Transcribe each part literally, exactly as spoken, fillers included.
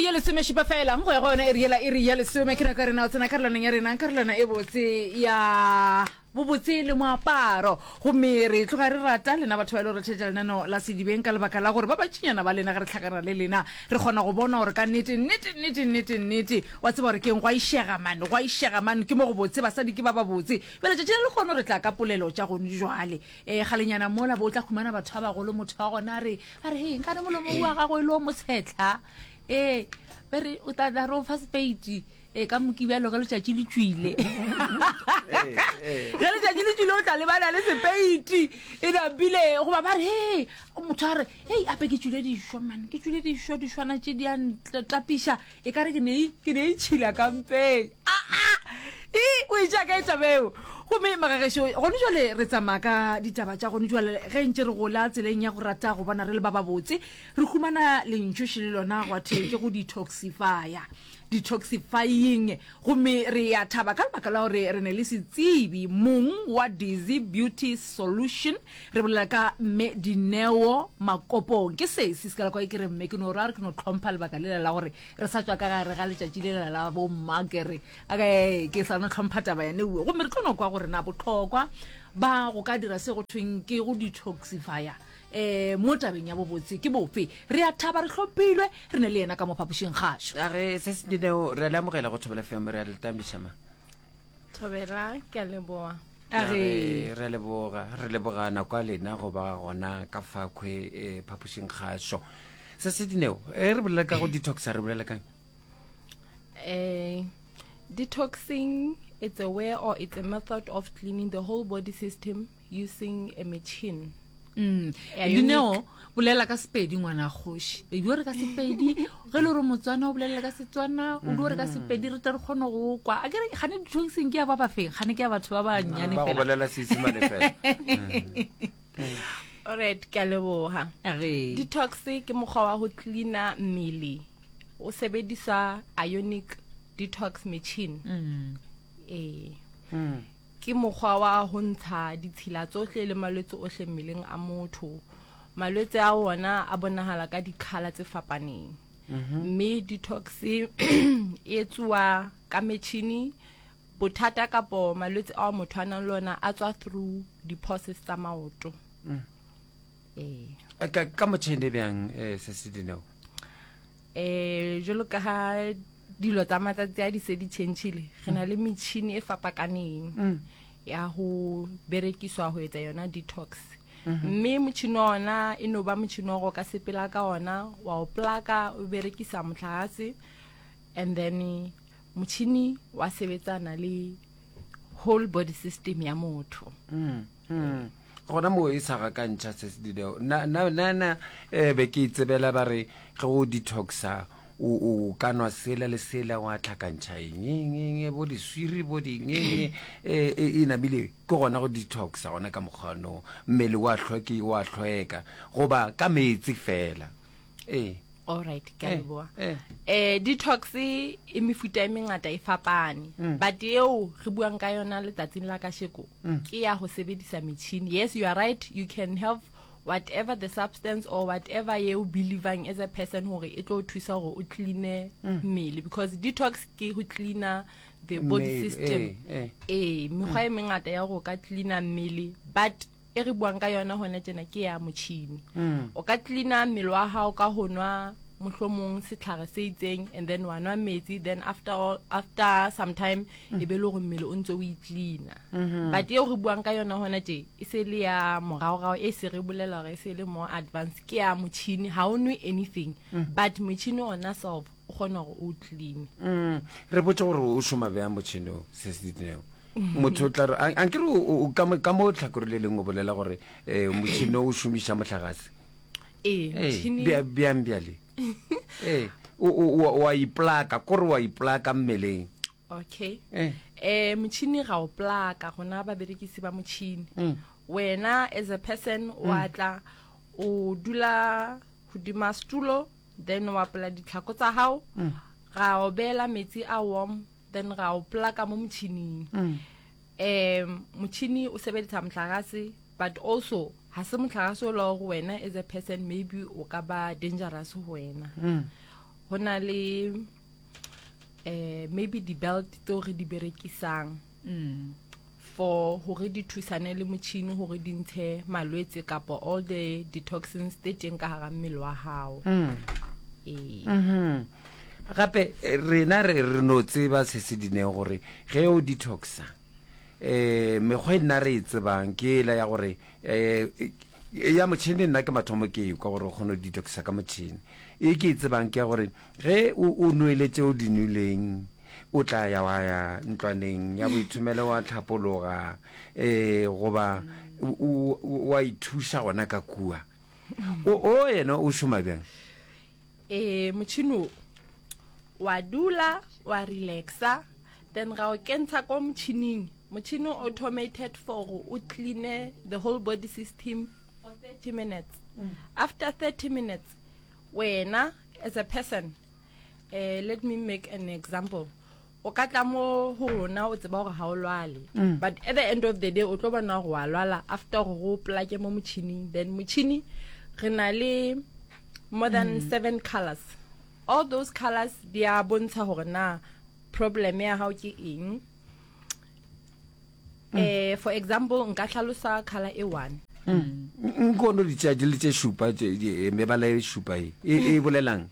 ye lesomešupa fela go ya go yona iri yela iri ya lesome ke nako ya rena o tsena karolwaneng ya rena karolwana e botse ya bobotse le moaparo gomme re tloga re rata lena batho ba e le gore theetša lenaneo la sedibeng ka lebaka la gore ba bantšinyana ba lena ge re hlakana le lena re kgona go bona gore ka nnete nnete nnete nnete nnete wa tseba gore keng gwa išega mane gwa išega mane ke mo go botse basadi ke ba ba botse bjale tšatši le lekgono re tla ka polelo tša gone jwale um kgalenyana mola bo o tla khumana batho ba bagolo motho wa gona a re a re he nkane molomo wa gago e le o motshetlha ee be re o tla tla re o fa sepeiti e ka mokibjalo ge letšatši le tšwile ge letšatši le tšwile o tla lebana le sepeiti e napile goba ba re he motho a re hei ape ke tšwile dišwa mane ke tšwile dišwa dišwana tše di a ntlapiša e ka re ke ne ke ne itšhila kampeng aa e o e tšea ka e tabeo gomme magagešo gone jale re tsamaya ka ditaba tša gone jale ge ntše re gola tseleng ya go rata go bona re le ba babotse re humana lentšoši le lona gwa thwe ke go detoxifya detoxifying gomme re ya thaba ka lebaka la gore re ne le setsebi mong wa Dizzy Beauty Solution re bolela ka mme Dineo Makopong ke sesi se ka la kwa ke re mme ke no ra re ke no tlhompha lebaka lela la gore re sa tswa ka gare ga letšatši lela la bo mma ke re ke ke sa no tlhompha taba yane uwe gomme re tlo no kwa gore na botlhokwa ba go ka dira se go thweng ke go detoxifya um mo tabeng ya bobotse ke bofe re a thaba re hlomphilwe re ne le yena ka mo phapošing kgašo a re se se dineo re a le amogela go Thobela F M re a le tamiša ma Thobela ke a leboa a re re leboga re leboga nako ya lena go ba gona ka fakhwe eh, phapošing kgašo se se dineo e re bolela ka go detoxa re bolela kang eh detoxing it's a way or it's a method of cleaning the whole body system using a machine. Mm. Yeah, Dineo bolela ka Sepedi ngwana kgoši e dio re ka Sepedi ge le gore Motswana o bolela ka Setswana o dio re ka Sepedi re tle re kgone go kwa a kere gane detoxing ke ya ba bafeng gane ke ya batho ba bannyane ba go fela bolela Seisemane fela Alright, ke a leboga. Re. Detox ke mokgwa wa go cleaner mmele o sebedisa ionic detox machine. Mm. Eh. Ke mokgwa wa ho ntsha ditshila tsohle le malwetse ohle mmeleng a motho. Malwetse a ona a bonahala ka dikhala tse fapaneng. Mme detox e etsuwa ka metjhini bothata kapo malwetse ao motho a nang le ona a tswa through di-pores tsa maoto. Eh. Eh, ka ka motšhene bjang eh, se se dineo eh jwalo ka ha dilo tsa matsatsi a di se di tšhentšhile re na le metšhini e fapakaneng ya ho berekiswa ho etsa yona detox mme motšhini wa ona e no ba motšhini wa go ka sepela ka ona wa o plaka o berekisa motlakase and then motšhini wa sebetsana le whole body system ya motho. Mm, mm. Gona mo e sa gakantšha se se dineo na na na na eh, be ke itsebela ba re ge o detoxa o o ka nwa sela le sela wa tlhakantšha eng eng eng bo diswiri bo ding eng e e namile ke gona go detoxa gona ka mokgwano mmele wa hlweki wa hlweka goba ka meetse fela ee Alright, ke a Eh, leboha. eh. Eh detox e mefuta e mengata e fapane. But eo re buang ka yona letsatsing la kasheko ke ya ho sebedisa metjhini. Yes, you are right, you can have whatever the substance or whatever you believing as a person hore e tlo thusa hore o clean mmele because detox ke ho cleaner the body Mmele, system. eh, eh. Eh, mekgwa e mengata ya hore o ka cleaner mmele but e re buang ka yona hona tjena ke ya motjhini. O ka cleaner mmele wa hao ka ho nwa mohlomong setlhare se itseng and then wa nwa metsi then after all, after some time e be le hore mmele o ntse o i-cleaner. But eo re buang ka yona hona tje e se le ya moraorao e se re bolela hore e se le more advanced ke ya motjhini ha o nwe anything but motjhini ona self o kgona hore o clean. Mm, re botse gore o šoma bjang motšhini o se se dineo motho o tla re a- ankere o- o- ka mo- ka mo tlhakore le lengwe o bolela gore um motšhini o šomiša mohlagase Ee, Ee, motjhini bja- bjang bjale ee o- o o- wa iplaka kore wa iplaka mmeleng Okay. Eh. Eh motjhini ga o plaka gona baberekisi ba motjhini. Wena as a person wa tla o dula hodima setulo then wa pola ditlhako tsa hao ga o beela metsi a warm then ga o plaka mo motjhining. Um motjhini o sebedisa motlakase but also ha se motlakase o le gore wena as a person maybe o ka ba dangerous ho wena. Go na le eh maybe di-belt tseo re di berekisang Mm. for hore di thusane le motšhini hore di ntshe malwetse kapa all the detoxins tse teng ka hara mmele wa hao. Ee. Mhm. Gape eh, rena re re no tseba se se dineng gore ge o detoxa um mekgwa e nna re e tsebang ke ela ya gore um ya motšhini nna ke mathomo ke ekwa gore o kgone go detoxa ka motšhini. E ke e tsebang ke ya gore ge o o nwele tše o di nweleng, o tla ya wa ya ntlwaneng ya boithomelo wa tlhapologa um goba o- o- wa ithuša gona ka kua. O o yena o šoma bjang? Eh motšhini o wa dula wa relaxa, then ga o kentsha ko motšhining. Motšhini o automated for gore o cleane the whole body system for thirty minutes. After thirty minutes, wena as a person, eh let me make an example. O ka tla mo ho rona o tseba gore ha o lwale, but at the end of the day o tlo bona gore wa lwala after gore go plake mo motšhining. Then motšhini re na le more than seven colors. All those colors di a bontsha gore na problem ya hao ke eng. Eh for example, nka hlalosa color e one. Nkono di tšea di le tše šupa tše- di- mebala e šupa e e e bolelang?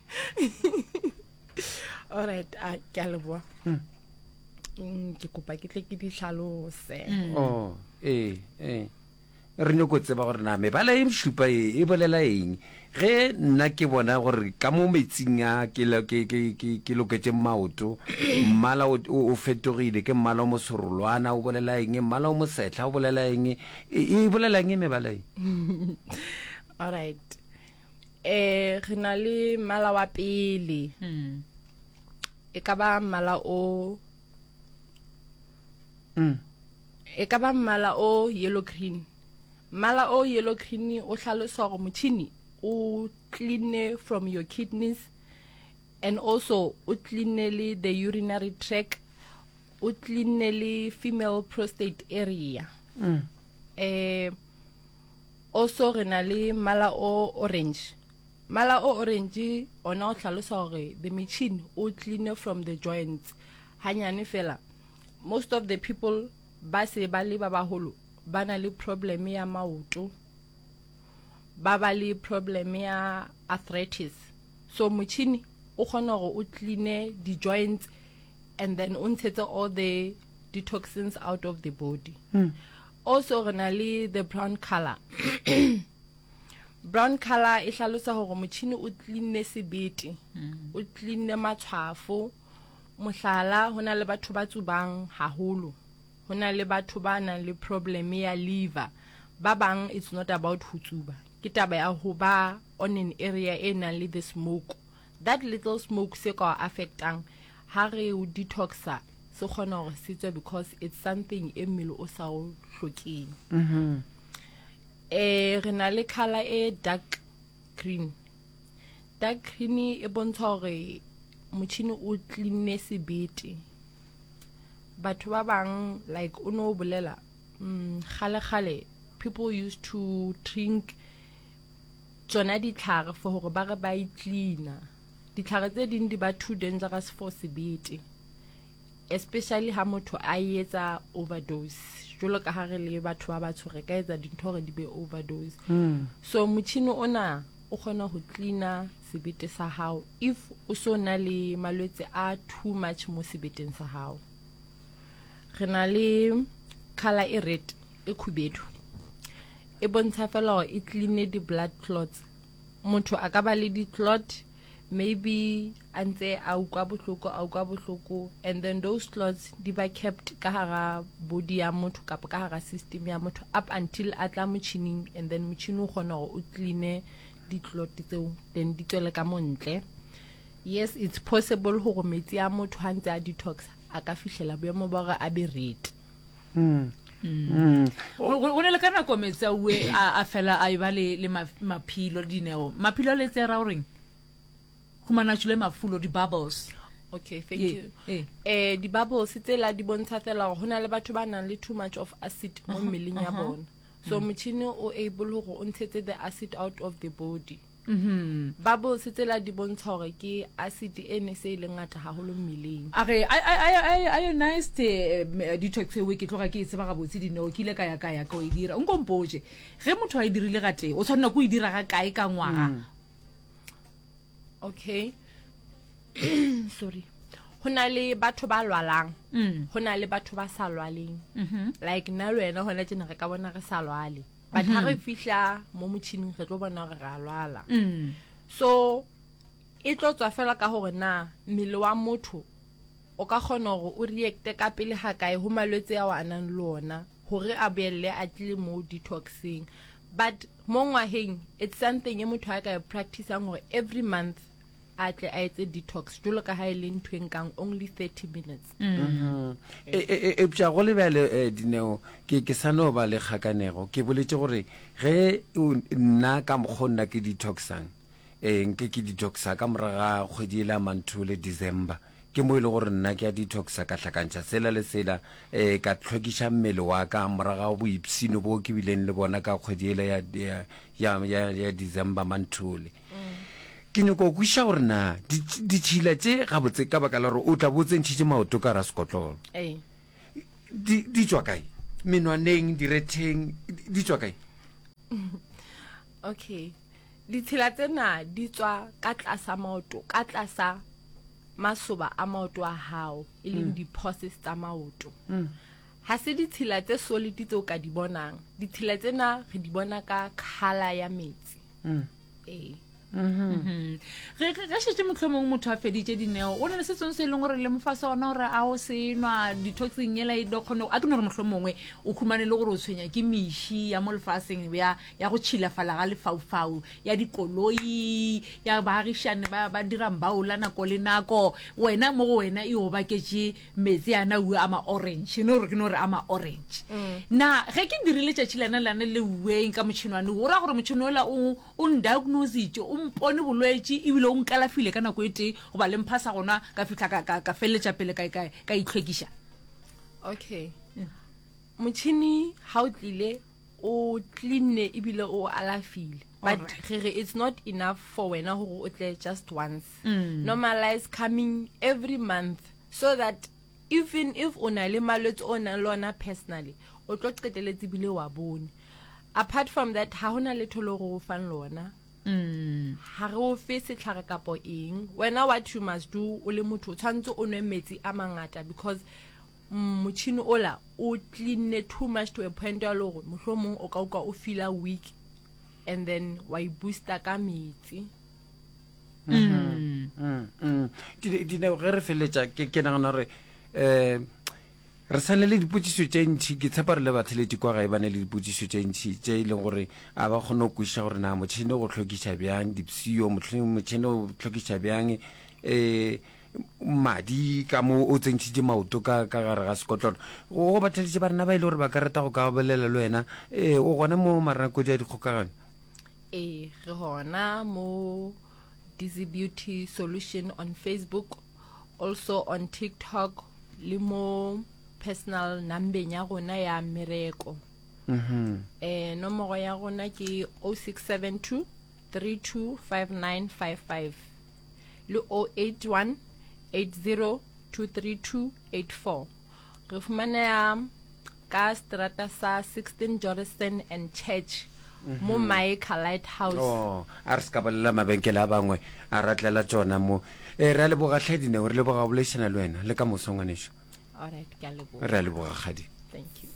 All right, a ke a leboha. Mm, ke kopa ke tle ke di hlalose. Oh, ee ee re nyako tseba gore na mebala e šupa e e bolela eng. Ge nna ke bona gore ka mo metsing a ke lo- ke ke ke ke loketše maoto, mmala o o fetogile, ke mmala o moserolwana, o bolela eng? Mmala o mosetlha o bolela eng? E e bolela eng mebala e? All right, eh re na le mmala wa pele. Mm. E ka ba mmala o Mm. e ka ba mmala o yellow green. Mmala o yellow green o hlalosa gore motšhini o clean from your kidneys, and also o clean le the urinary tract, o clean le female prostate area. Mm. Eh also re na le mmala o orange. Mmala o orange ona o hlalosa gore the machine o clean from the joints hanyane fela. Most of the people ba se ba le ba baholo ba na le problem ya maoto, ba ba le problem ya arthritis. So motšhini o kgona gore o cleane di-joints and then o ntshetse all the detoxins out of the body. Also re na le the brown color. Brown color e hlalosa gore motšhini o cleanne sebete, o cleanne matshwafo. Mohlala, ho na le batho ba tsubang haholo, ho na le batho ba nang le problem ya liver. Ba bang it's not about ho tsuba, ke taba ya ho ba on an area e nang le the smoke. That little smoke se ka o affectang, ha re o detoxa se kgona hore se tswe because it's something e mmele o sa o hlokeng. Eh re na le color e dark green. Dark green e bontsha hore motšhini o cleanne sebete. Batho ba bang, like o no bolela, mm, kgale kgale people used to drink tsona ditlhare for hore ba re ba e cleaner. Ditlhare tse ding di ba too dangerous for sebete, especially ha motho a etsa overdose. Jwalo ka ha re le batho ba batsho re ka etsa dintho hore di be overdose. So motšhini ona o kgona ho cleaner sebete sa hao if o so na le malwetse a too much mo sebeteng sa hao. Re na le color e red, e khubedu. E bontsha fela hore e cleane di-blood clots. Motho a ka ba le di-clot, maybe a ntse a utlwa bohloko, a utlwa bohloko, and then those clots di ba kept ka hara body ya motho kapa ka hara system ya motho up until a tla motšhining, and then motšhini o kgona hore o cleane di-clot tseo, then di tswele ka montle. Yes, it's possible hore metsi a motho ha ntse a detox a ka fihlela boemo ba hore a be red. Mm. Mm. Go go ne le ka nako metsi a ue a a fela a e ba le le ma- maphilo dineo. Maphilo a letse ra goreng? Humana tšhule mafulo di-bubbles. Okay, thank Ye- you. eh. Eh di-bubbles tsela di bontsha fela hore ho na le batho ba nang le too much of acid mo mmeleng ya bona. So motšhini o able hore o ntshetse the acid out of the body. Mhm. Bubbles tsela di bontsha gore ke acid e ne se e le ngata haholo mmeleng. A re ionized eh, detox eo ke tloga ke e tseba gabotse dineo ke ile ka ya ka ya ka o e dira nko mpotše ge motho a e dirile gatee o tshwanela ko e dira ga kae ka ngwaga Mm. Okay. Sorry. Ho na le batho ba lwalang. Mm. Ho na le batho ba sa lwaleng. Mhm. Like nna le wena hona tjena re ka bona re sa lwale. But ha re fihla mo motjhining re tlo bona hore re a lwala. Mm. So e tlo tswa fela ka hore na mmele wa motho o ka kgona hore o reacte ka pele ha kae ho malwetse ao a nang le ona hore a boelle a tlile mo detoxing but mo ngwaheng it's something e motho a ka e practicang hore every month a tle a etse detox jwalo ka ha e le ntho e nkang only thirty minutes. Mm. E, e, e, eupša go le bjale eh, Dineo, ke ke sa no ba le kgakanego. Ke boletše gore ge o- nna ka mokgwa o nna ke detoxang, eh, nke ke detoxa ka morago ga kgwedi e la Manthole, December, ke mo e le gore nna ke a detoxa, ka hlakantšha sela le sela, eh, ka hlwekiša mmele wa ka morago ga boipshino bo ke bileng le bona ka kgwedi ela ya, ya, ya, ya, ya December Manthole. Ke nyoko go kwešiša gore na di- ditšhila tše gabotse ka baka la gore o tla bo o tsentšhitše maoto ka gara sekotlolo Ee. di di tšwa kae menwaneng diretheng di di tšwa kae Okay. Ditshila tsena di tswa ka tlasa maoto, ka tlasa masoba a maoto a hao, e leng di-pores tsa maoto. Ha se ditshila tse solid tse o ka di bonang. Ditshila tsena re di bona ka colour ya metsi. Ee. Mhm. Ge ge- ge šetše mohlomong motho a feditše dineo o na le se sengwe se e leng gore le mofa sona gore a o se nwa detoxing ela e do kgone a ke no gore mohlomongwe o humane le gore o tshwenya ke meši ya mo lefaseng ya ya go tšhilafala ga lefaufau ya dikoloi ya baagišane ba ba dirang baola nako le nako wena mo go wena e o baketše metsi ana ue a ma-orange no gore ke no re a ma-orange na ge ke dirile tšatši lena lane le ueng ka motšhinwane o ra gore motšhini ola o o ndiagnositše o mpone bolwetši ebile o nkalafile ka nako e tee goba le mpha sa gona ka fihla ka, ka, ka feleletša pele ka, ka, ka itlhwekiša. Okay. Motšhini ha o tlile o cleanne ebile o alafile. But Alright. re re it's not enough for wena hore o tle just once. Normalize coming every month so that even if o na le malwetse o nang le ona personally, o tlo qetelletse ebile wa bone. Apart from that, ha hona letho le re o fang lona. Ha re o fe setlhare kapo eng. Wena what you must do o le motho o tshwanetse o nwe metsi a mangata because mm, motšhini ola o cleanne too much to a point ya le hore mohlomong o ka utlwa o feela weak and then wa e booster ka metsi. Mm, mm. Di- Dineo ge re feleletša ke ke nagana gore um re sa ne le dipotšišo tše ntšhi ke tshepa re le batheletši kwa gae ba ne le dipotšišo tše ntšhi tše e leng gore a ba kgone go kwešiša gore na motšhini o go hlwekiša bjang dipshio mohlomong motšhini o hlwekiša bjang um madi ka mo o tsentšhitše maoto ka ka gare ga sekotlolo go batheletši ba rena ba e le gore ba ka rata go ka bolela le wena um o gona mo maranakodi a dikgokagano. Ee, re hona mo Dizzy Beauty Solution on Facebook, also on TikTok le mo personal numbeng ya rona ya mmereko. Mhm. Eh nomoro ya rona ke oh six seven two three two five nine five five le oh eight one eight zero two three two eight four. Re fumaneha ka strata sa sixteen Jordan and Church mo Mica Lighthouse. Oh, a re se ka bolela mabenkele a bangwe a ratlela tšona mo. E re a leboga hle Dineo, re leboga go boledišana le wena le ka moso ngwaneso. All right, ke a leboga. Re a leboga kgadi. Thank you.